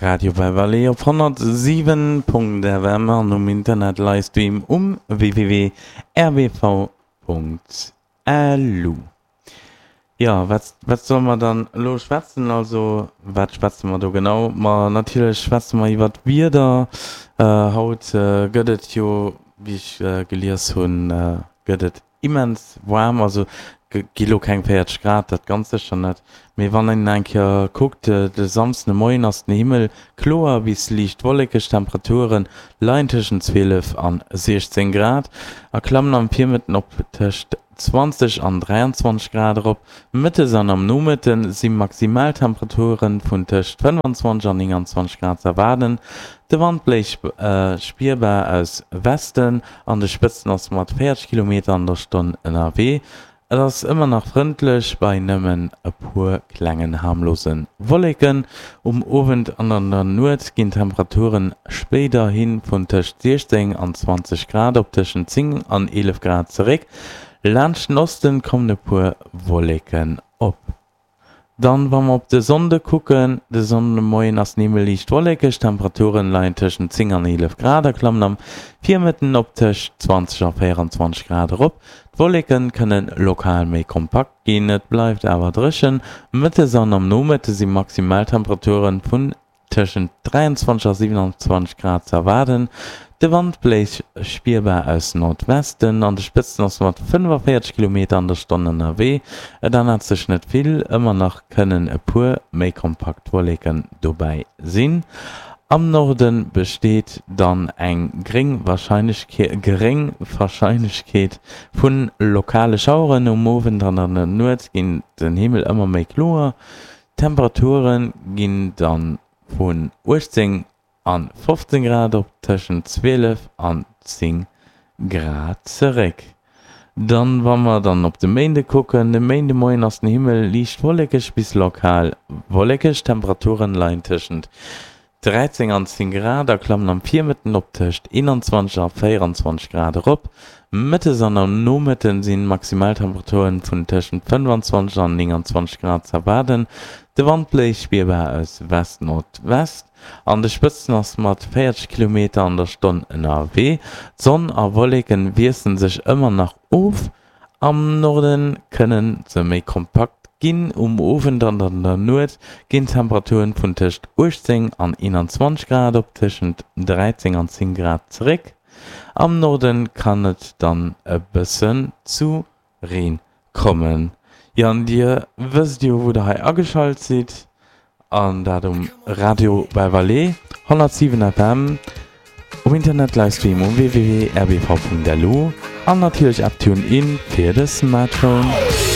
Radio Beverly op 107.fm an um Internet Livestream um www.rbv.lu. Jo, wat, wat solle mer dann elo schwätzen? Also, wat schwätze mer do genau? Ma natierlech schwätze mer iwwer d'Wieder. Haut gëtt et jo, wéi ech gelies hunn, gëtt et immens waarm, also gi lo keng 40 Grad, dat ganz sécher net, mee wann een eng Kéier kuckt, de Samsden de Moien ass den Himmel kloer bis liicht wollekeg, d'Temperature leien tëschent 12 an 16 Grad a klammen am Virmëtten op tëscht 20 an 23 Grad erop. Mëttes an am Nomëtte si Maximaltemperature vun tëscht 25 an 29 Grad z'erwaarden. De Wand bléist spierbar aus Westen, an de Spëtzen ass mat 40 Kilometer an der Stonn ënnerwee. Et ass ëmmer nach frëndlech bei nëmmen e puer klengen harmlose Wolleken. Um Owend an an der Nuet ginn d'Temperaturen spéiderhi vun tëscht 16 an 20 Grad op tëschent 10 an 11 Grad zeréck. Laanscht den Osten kommen e puer Wolleken op. Dann, wa mer op de Sonnde kucken, De Sonndemoien ass den Himmel liicht wollekeg, d'Temperaturen leien tëschent 10 an 11 Grad a klammen am Virmëtten op tëscht 20 a 24 Grad erop. D'Wolleken kënnen lokal méi kompakt ginn, et bleift awer dréchen. Mëttes an am Nomëtte si Maximaltemperaturen vun Tëschent 23 a 27 Grad ze erwaarden. De Wand bléist spierbar aus Nordwesten, an de Spëtzen ass mat 45 Kilometer an der Stonn ënnerwee. Et ännert sech net vill, ëmmer nach kënnen e puer méi kompakt Wolleken dobäi sinn. Am Norde besteet dann eng geréng Warscheinlechkeet vu lokale Schaueren. Um Owend an an der Nuet ginn den Himmel ëmmer méi kloer. D'Temperature ginn dann vun 18 an 15 Grad op tëschent 12 an 10 Grad zeréck. Dann wa mer dann op de Méinde kucken, De Méindemoien ass den Himmel liicht wollekeg bis lokal wollekeg, d'Temperaturen leien tëschent 13 an 10 Grad a klammen am Virmëtten op tëscht 21 a 24 Grad erop. Mëttes an am Nomëtten sinn Maximaltemperaturen vun tëschent 25 an 29 Grad z'erwaarden. De Wand bléist spierbar aus West-Nordwest, an de Spëtzen ass mat 40 Kilometer an der Stonn ënnerwee. D'Sonn a Wolleken wiessle sech ëmmer nach of. Am Norde kënne se méi kompakt ginn. Um Owend an an der Nuet ginn d'Temperaturen vun tëscht 18 an 21 Grad op tëschent 13 an 10 Grad zeréck. Am Norde kann et dann e bëssen zu Reen kommen. Jo, an dir wësst jo wou der hei ageschalt sidd. An dat um Radio Beverley, 107 FM, um Internet Livestream um www.rbv.lu an natierlech App TuneIn fir de Smartphone.